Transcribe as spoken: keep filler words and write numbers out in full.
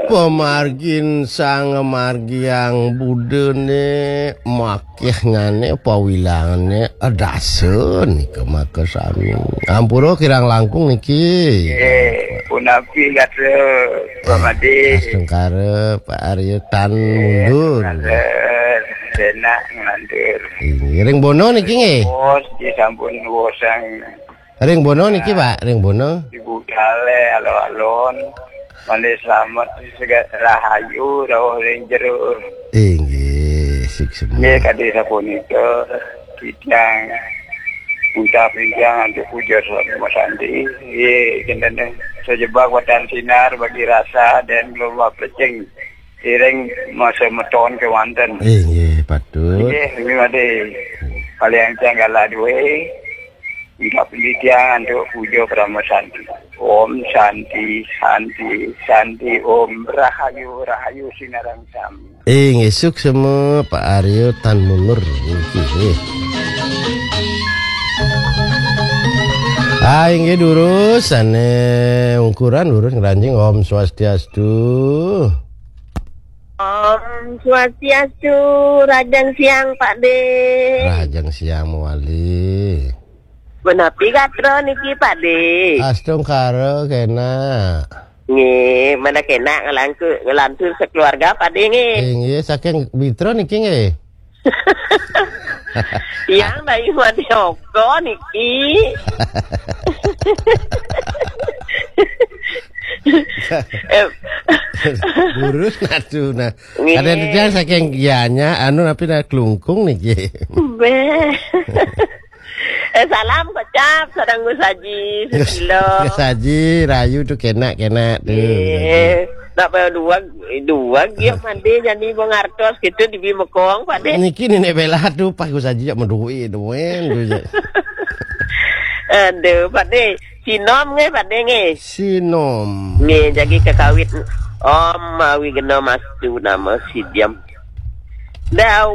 Pamargin sang margiang budane, makehngane pawilangane adasa nika makasami. Ampura kirang langkung niki. Eh, punapi gatra, Pak Made? Astungkara, Pak Arya tan mundur. Gatra, senak ngelantur. Inggih, ring Bono niki nggih? Bos, disampun wosang. Ring Bono niki, Pak, ring Bono. Ibu Dale, alon-alon. Malih slamet, sega-, rahayu, rauh ring jero. Inggih, suksma. Nggih, kadi sapunika, titiang ucap titiang antuk puja sama santi. Nggih, kinten sajebak watan sinar bagi rasa dan gelombang plecing. Iring masa meton kewanten. Inggih, patut. Nggih, nggih, Made. Paling tanggal dua. Minta penelitian untuk puja Parama Santi. Om Santi, Santi, Santi, Om Rahayu, Rahayu Sinarang Sami. Inggih, suksma Pak Arya tan mundur niki, nggih. Ah, inggih durus, sane ungkuran durus ngranjing. Om Swastiastu. Om Swastiastu, Rajang Siang, Pak De. Rajang Siang mawali. Menapi gatra niki, Pak De? Astungkara kena. Nggih, mana kena ngelangku-, ngelantur sekeluarga, Pak De, nggih? Inggih, saking Bitra niki, nggih. Yang dari Made Oko niki. Eh. Burus natu nah. Nggih. Ada titiang saking Gianyar, anu napi dah Klungkung niki. Beh. Eh, salam kocap sareng Gus Haji Susilo. Gus Haji rayu tu kena-kena tu. Nggih. Nak payah dua, dua giok mandi jani bong artos gitu di Bimekong, Pak De. Niki Nenek Bela tu pas Gus Haji jak medui duen tu je. Aduh, Pak De. Sinom nggih, Pak De nggih. Sinom. Nggih, jagi kekawit Om Awi Gena Mastu nama sidiam. Dau